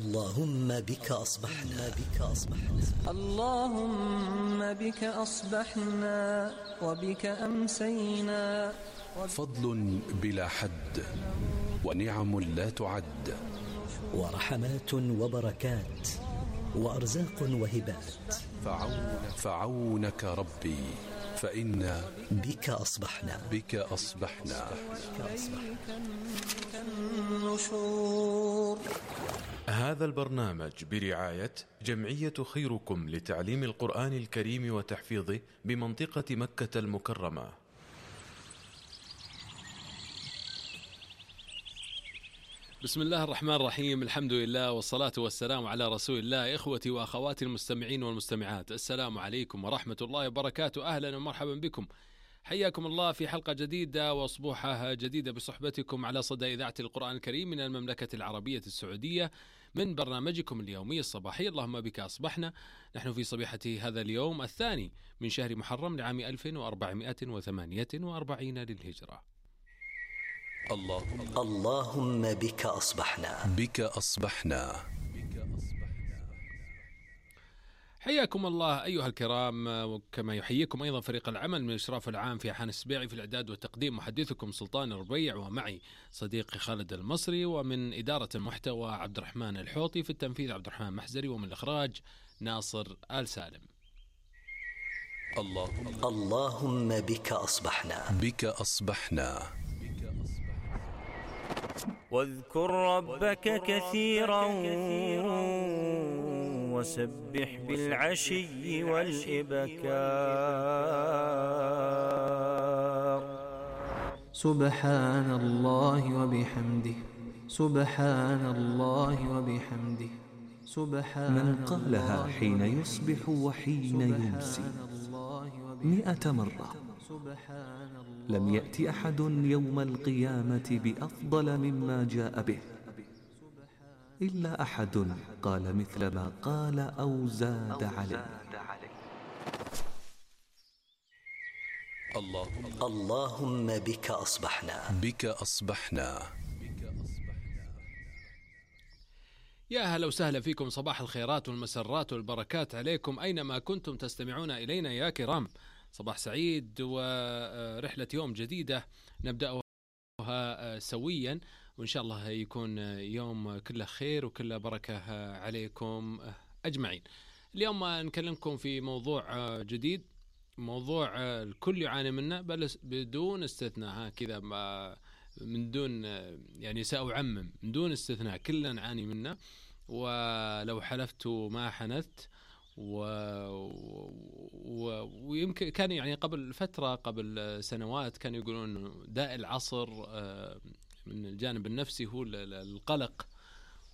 اللهم بك أصبحنا اللهم بك أصبحنا وبك أمسينا. فضل بلا حد ونعم لا تعد، ورحمات وبركات وأرزاق وهبات. فعونك ربي فإنا بك أصبحنا النشور. هذا البرنامج برعاية جمعية خيركم لتعليم القرآن الكريم وتحفيظه بمنطقة مكة المكرمة. بسم الله الرحمن الرحيم، الحمد لله والصلاة والسلام على رسول الله. إخوتي وأخواتي المستمعين والمستمعات، السلام عليكم ورحمة الله وبركاته. أهلا ومرحبا بكم، حياكم الله في حلقة جديدة وصبوحة جديدة بصحبتكم على صدى إذاعة القرآن الكريم من المملكة العربية السعودية، من برنامجكم اليومي الصباحي اللهم بك أصبحنا. نحن في صبيحة هذا اليوم الثاني من شهر محرم لعام 1448 للهجرة. اللهم بك أصبحنا. حياكم الله أيها الكرام، وكما يحييكم أيضا فريق العمل من الإشراف العام في حان السبيعي في الإعداد والتقديم، محدثكم سلطان الربيع، ومعي صديقي خالد المصري، ومن إدارة المحتوى عبد الرحمن الحوطي، في التنفيذ عبد الرحمن محزري، ومن الإخراج ناصر آل سالم. اللهم بك أصبحنا. واذكر ربك كثيرا وسبح بالعشي والإبكار. سبحان الله وبحمده، سبحان الله وبحمده، سبحان من قالها حين يصبح وحين يمسي 100 مرة لم يأتي أحد يوم القيامة بأفضل مما جاء به، إلا أحد قال مثل ما قال أو زاد عليه. اللهم بك أصبحنا. يا أهلا وسهلا فيكم، صباح الخيرات والمسرات والبركات عليكم أينما كنتم تستمعون إلينا يا كرام. صباح سعيد ورحلة يوم جديدة نبدأها سويا، وإن شاء الله يكون يوم كله خير وكله بركة عليكم أجمعين. اليوم نكلمكم في موضوع جديد، موضوع الكل يعاني منه بدون استثناء، كذا من دون يعني سأعمم، من دون استثناء كلنا نعاني منه، ولو حلفت ما حنثت. ويمكن كان يعني قبل فترة، قبل سنوات، كانوا يقولون داء العصر من الجانب النفسي هو القلق،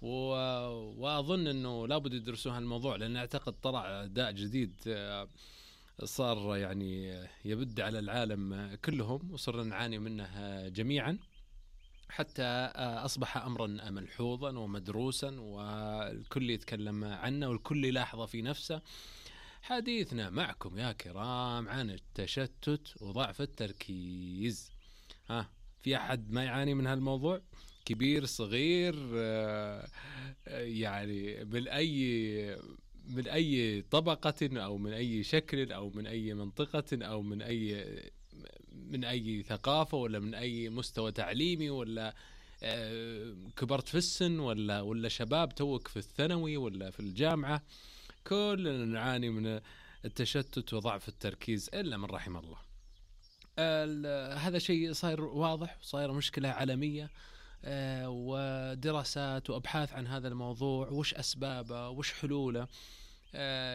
وأظن أنه لابد يدرسون هالموضوع، لأن أعتقد طلع داء جديد صار يعني يبد على العالم كلهم، وصرنا نعاني منه جميعا، حتى أصبح أمرا ملحوظا ومدروسا، والكل يتكلم عنه والكل يلاحظه في نفسه. حديثنا معكم يا كرام عن التشتت وضعف التركيز. في أحد ما يعاني من هالموضوع؟ كبير صغير، يعني من أي طبقة أو من أي شكل أو من أي منطقة أو من أي ثقافة، ولا من أي مستوى تعليمي، ولا كبرت في السن، ولا شباب توك في الثانوي ولا في الجامعة، كلنا نعاني من التشتت وضعف التركيز إلا من رحم الله. هذا شيء صاير واضح، صاير مشكلة عالمية، ودراسات وأبحاث عن هذا الموضوع، وش أسبابه وش حلوله،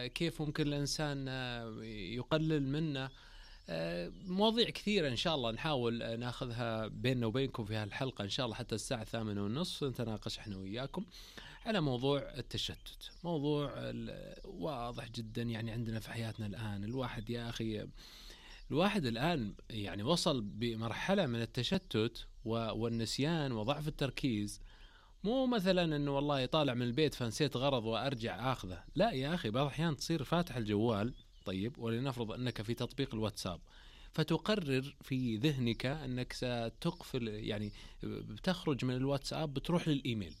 كيف ممكن الإنسان يقلل منه. مواضيع كثيرة إن شاء الله نحاول ناخذها بيننا وبينكم في هالحلقة إن شاء الله، حتى الساعة 8:30 نتناقش إحنا وياكم على موضوع التشتت. موضوع واضح جدا، يعني عندنا في حياتنا الآن الواحد يا أخي، الواحد الآن يعني وصل بمرحلة من التشتت والنسيان وضعف التركيز. مو مثلا إنه والله يطالع من البيت فنسيت غرض وأرجع آخذه، لا يا أخي، بعض الأحيان تصير فاتح الجوال، طيب، ولنفرض أنك في تطبيق الواتساب، فتقرر في ذهنك أنك ستقفل، يعني بتخرج من الواتساب بتروح للإيميل،